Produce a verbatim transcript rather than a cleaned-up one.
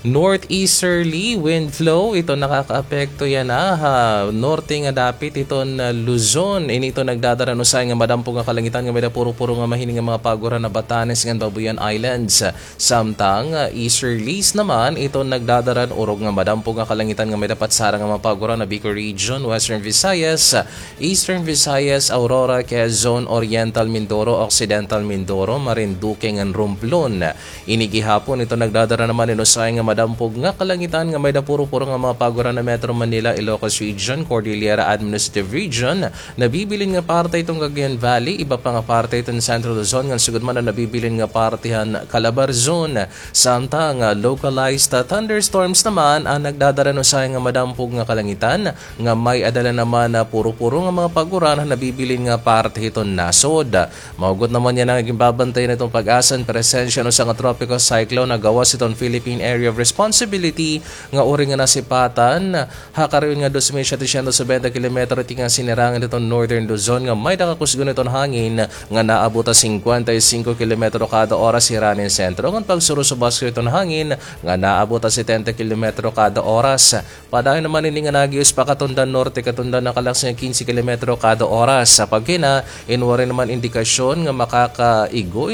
Northeasterly wind flow, ito nakakaapekto yana ha norte nga dapit hiton, ah, Luzon. Ini ito nagdadara hin usahay nga madampog nga kalangitan nga may-ada puro-puro nga mahining nga mga paguran ha Batanes ngan Babuyan Islands. Samtang, ah, easterlies naman, ito nagdadara hin urog nga madampog nga kalangitan nga may-ada patsara nga mga paguran ha Bicol Region, Western Visayas, Eastern Visayas, Aurora, Quezon, Oriental Mindoro, Occidental Mindoro, Marinduque ngan Romblon. Ini gihapon, ito nagdadara naman hin usahay nga madampog nga kalangitan nga may-ada puro-puro nga mga paguran ha Metro Manila, Ilocos Region, Cordillera Administrative Region, nabibilin nga parte hiton Cagayan Valley, iba pa nga parte hiton Central Luzon, ngan sugad man an nabibilin nga parte han Calabarzon. Samtang, ah, localized, ah, thunderstorms naman an nagdadara hin usahay nga madampog nga kalangitan nga may-ada la naman, ah, puro-puro nga mga paguran ha nabibilin nga parte hiton nasod. Mahugot naman yana nga ginbabantayan hiton PAGASA an presensya hin usa nga tropical cyclone ha gawas hiton Philippine Area of Responsibility nga uri nga nasipatan ha karion nga dos mil setecientos bente kilometro tikang sinirangan hiton Northern Luzon nga may-ada kakusgon hiton hangin nga naabot ha singkwenta y singko kilometro kada oras hiranin sentro, ngan pagsurusubas hiton hangin nga naabot ha setenta kilometro kada oras. Padayon naman ini nga naghius pa katundan norte, katundan nakalaksi nga kinse kilometro kada oras. Sa pagkina, in waray naman indikasyon nga makakaigo